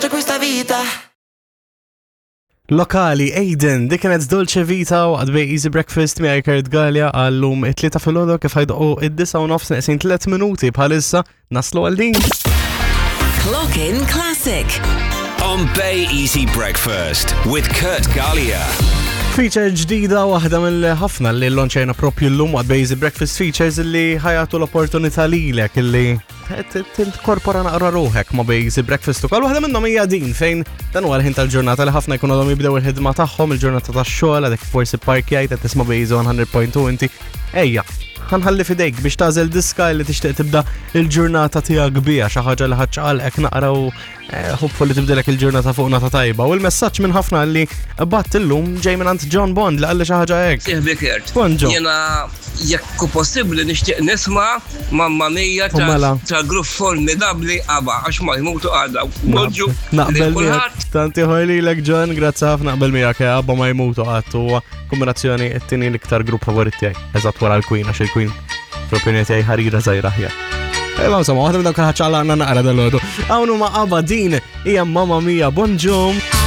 piace questa vita. Lokali, Aiden, dik kienet Dolce Vita u għadbej Easy Breakfast miegħi Kurt Gallia għallum it-tlieta filgħodu kif ħajdoqu id-disa u nofs neqsin tliet minuti bħalissa naslu għal din. Clock in Classic. On Bay Easy Breakfast with Kurt Gallia. Feature ġdida waħda mill-ħafna li l-lonċajna propju l-lum għad Easy Breakfast Features li ħajatu l-opportunità lilek li tinkorpora naqra ruħek ma' Easy Breakfast ukoll. Waħda minnhom hija din fejn dan huwa l-ħin tal-ġurnata li ħafna jkunu għadhom jibdew il-ħidma tagħhom il-ġurnata tax-xogħol għadek forsi parkjajt qed tisma' Easy 100.2 inti ejja ħanħalli fidejk biex tażel diska li tixtieq tibda il-ġurnata tiegħek biha xi ħaġa li ħadd naqra u Eh, hopefully tibdilek il-ġurnata fuq nata tajba. U l-messaġġ minn ħafna li bat illum ġej minn John Bond li qalli xi ħaġa hekk. Sieħbi Kurt. Bonġo. Jiena jekk hu possibbli nixtieq nisma' Mamma Mia U mela. ta' grupp formidabbli ABBA għax ma jmutu għadha. Bonġu. Naqbel lil kulħadd. miegħek. Tanti ħoj lilek John, grazzi ħafna naqbel miegħek eh, ABBA ma jmutu qatt huwa kombinazzjoni t-tieni l-iktar grupp favorit tiegħi. Eżatt wara l-Queen għax il-Queen fl-opinjoni tiegħi ħarira żgħira aħjar. Ejma insomma, waħda minn dawk ħaċċala għandna naqra dal-għodu. Hawn huma ABBA din hija Mamma Mia, bonġum.